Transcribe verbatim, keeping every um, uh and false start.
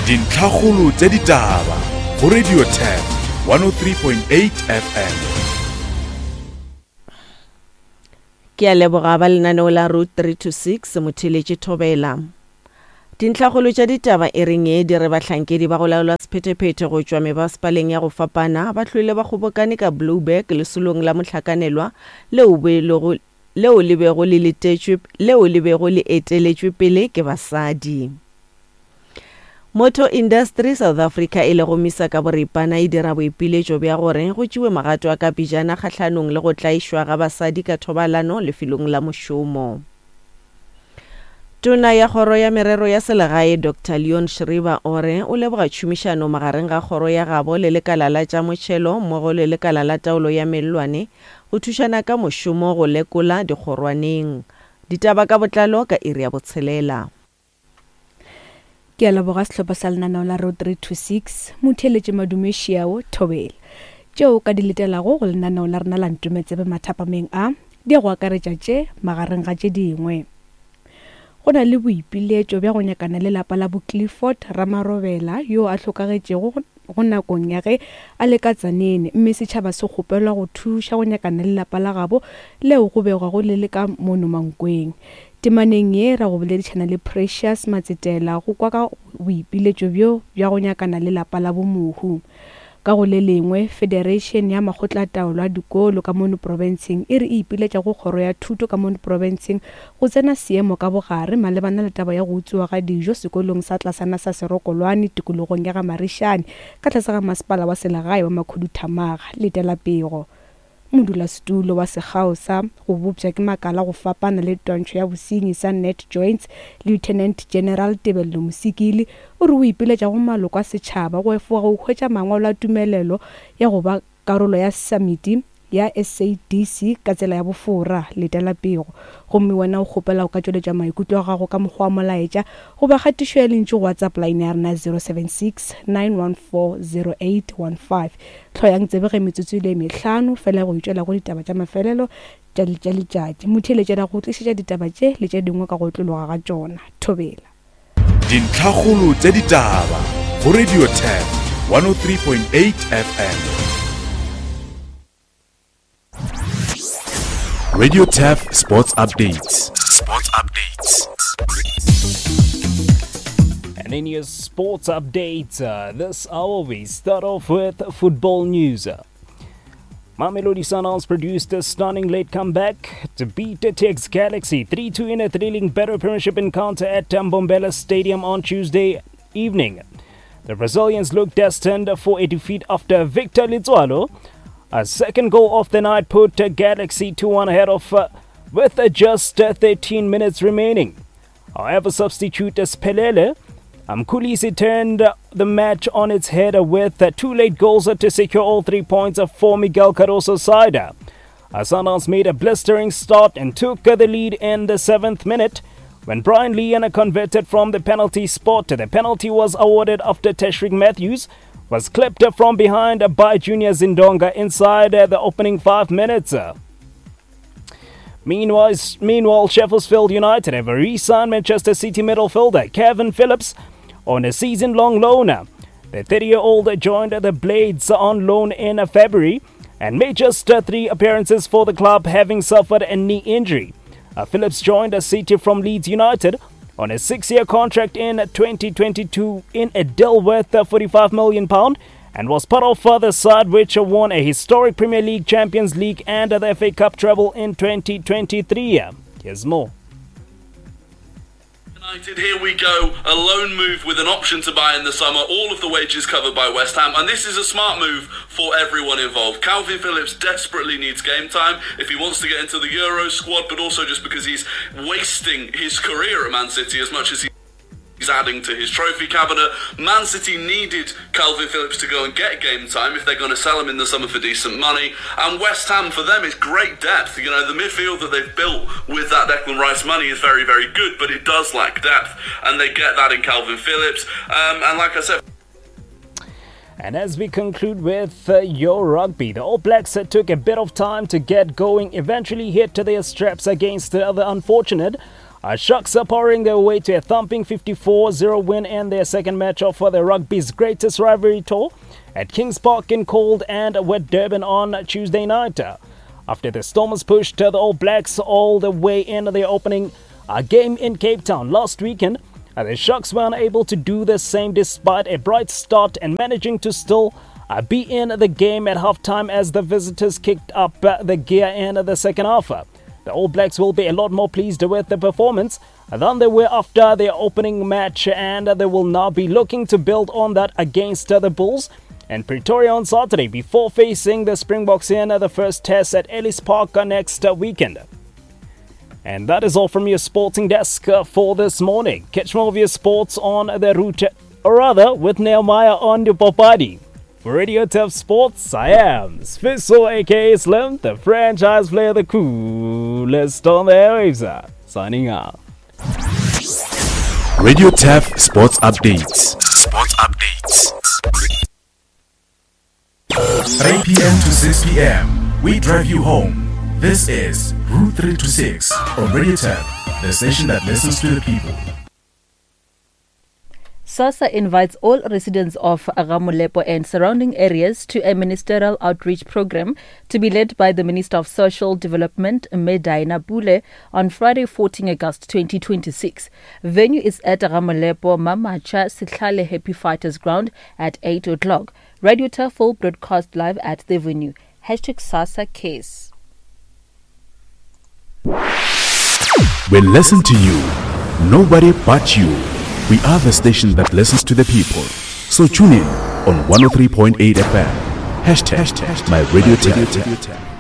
Dintlhakgolo tša ditaba go Radio Turf one oh three point eight F M. Ke a leboga ba lenaneo la Route three two six motheletše Thobela. Dintlhakgolo tša ditaba e reng e di re bahlankedi ba go laola sephethephethe go tšwa mebasepaleng ya go fapana ba hlwele ba kgobokane ka Blouberg lesolong la mohlakanelwa leo belego leo le bego le letetšwe leo le bego le eteletšwe pele ke basadi. Motor Industry South Africa e lego misa ka boripana e dira boipiletšo bja gore go tšewe magato a ka pejana kgahlanong le go tlaišwa ga basadi ka thobalano lefelong la mošomo. Tona ya kgoro ya merero ya selegae Doctor Leon Schreiber o re o leboga tšhomišano magareng ga kgoro ya gabo le lekala la tša motšhelo mmogo le lekala la taolo ya mellwane go thušana ka mošomo go lekola dikgorwaneng. Ditaba ka botlalo ka iri ya botshelela. Ke a leboga sehlopha sa lenaneo la Road three two six, motheeletše Madume Šiao Thobela. Tšeo ka di letelago go lenaneo la rena la Ntometsebe mathapameng a, di a go akaretša tše magareng ga tše dingwe. Go na le boipiletšo bja go nyakana le lapa la bo Clifford Ramarobela yo a hlokagetšego go nakong ya ge a le ka Tzaneen, mme setšhaba se kgopelwa go thuša go nyakana le lapa la gabo leo go begwago le le ka mono Mankweng. Temaneng ye ra go boledišana le Precious Matsetela go kwa ka boipiletšo bjo bja go nyakana le lapa la bomohu. Ka go le lengwe, Federation ya Makgotlataolo a Dikolo ka mono profenseng e re e ipiletša go kgoro ya thuto ka mono profenseng go tsena seemo ka bogare malebana le taba ya go utswiwa ga dijo sekolong sa tlasana sa Serokolwane tikologong ya ga Marishane ka tlase ga masepala wa selegae wa Makhuduthamaga. Letela pego. Modulasetulo wa sekgao sa go bopša ke makala go fapana le twantšho ya bosenyi sa Net Joints, Lieutenant General Tebello Mosikili, o re o ipiletša go maloko a setšhaba go efoga go hwetša mangwalo a tumelelo ya go ba karolo ya samiti ya S A D C ka tsela ya bofora. Letela pego. Gomme wena o kgopela go ka tšweletša maikutlo a gago ka mokgwa wa molaetša goba kgatišo ya lentšu go WhatsApp line ya rena zero seven six nine one four zero eight one five. Hloyang tsebe ge metsotso e le mehlano fela go itšwela go ditaba tša mafelelo tša tša letšatši. Motheeletši ra go tlišetša ditaba tše le tše dingwe ka go otlologa ga tšona. Thobela. Dintlhakgolo tša ditaba go Radio Turf one oh three point eight F M. Radio Turf Sports Updates. Sports Updates. And in your sports updates, uh, this hour we start off with football news. Mamelodi Sundowns produced a stunning late comeback to beat the T X Galaxy three two in a thrilling Betway Premiership encounter at Mbombela Stadium on Tuesday evening. The Brazilians looked destined for a defeat after Victor Letsoalo, a second goal of the night, put Galaxy two one ahead of uh, with just thirteen minutes remaining. However, substitute Sphelele Mkhulise turned the match on its head with two late goals to secure all three points for Miguel Cardoso's side. Sundowns made a blistering start and took the lead in the seventh minute when Brian Leon converted from the penalty spot. The penalty was awarded after Tashreeq Matthews was clipped from behind by Junior Zindonga inside the opening five minutes. Meanwhile, meanwhile, Sheffield United have re-signed Manchester City midfielder Kevin Phillips on a season-long loan. The thirty-year-old joined the Blades on loan in February and made just three appearances for the club, having suffered a knee injury. Uh, Phillips joined City from Leeds United on a six-year contract in twenty twenty-two in a deal worth forty-five million pounds and was part of the side which won a historic Premier League, Champions League and the F A Cup treble in twenty twenty-three. Here's more. United, here we go, a loan move with an option to buy in the summer, all of the wages covered by West Ham, and this is a smart move for everyone involved. Calvin Phillips desperately needs game time if he wants to get into the Euro squad, but also just because he's wasting his career at Man City as much as he he's adding to his trophy cabinet. Man City needed Calvin Phillips to go and get game time if they're gonna sell him in the summer for decent money. And West Ham, for them, is great depth. You know, the midfield that they've built with that Declan Rice money is very, very good, but it does lack depth, and they get that in Calvin Phillips. Um, and like I said... And as we conclude with, uh, your rugby, the All Blacks uh, took a bit of time to get going, eventually hit to their straps against the other unfortunate Uh, Sharks are powering their way to a thumping fifty-four zero win in their second match of for the rugby's greatest rivalry tour at Kings Park in cold and wet Durban on Tuesday night. After the Stormers pushed the All Blacks all the way in their opening uh, game in Cape Town last weekend, uh, the Sharks were unable to do the same despite a bright start and managing to still uh, be in the game at halftime as the visitors kicked up uh, the gear in the second half. The All Blacks will be a lot more pleased with the performance than they were after their opening match, and they will now be looking to build on that against the Bulls and Pretoria on Saturday before facing the Springboks in the first test at Ellis Park next weekend. And that is all from your sporting desk for this morning. Catch more of your sports on the route, or rather with Nehemiah on the Popadi. For Radio Turf Sports, I am Sfiso, aka Slim, the franchise player, the coolest on the airwaves, signing out. Radio Turf Sports Updates. Sports Updates. three p.m. to six p.m. We drive you home. This is Route three to six on Radio Turf, the station that listens to the people. SASSA invites all residents of Gamolepo and surrounding areas to a ministerial outreach program to be led by the Minister of Social Development, Medina Pule, on Friday, fourteenth August twenty twenty-six. Venue is at Gamolepo Mamacha Sitlale Happy Fighters Ground at eight o'clock. Radio Turf will broadcast live at the venue. Hashtag SASSA Case. We listen to you. Nobody but you. We are the station that listens to the people. So tune in on one oh three point eight F M. Hashtag, hashtag my radio tap.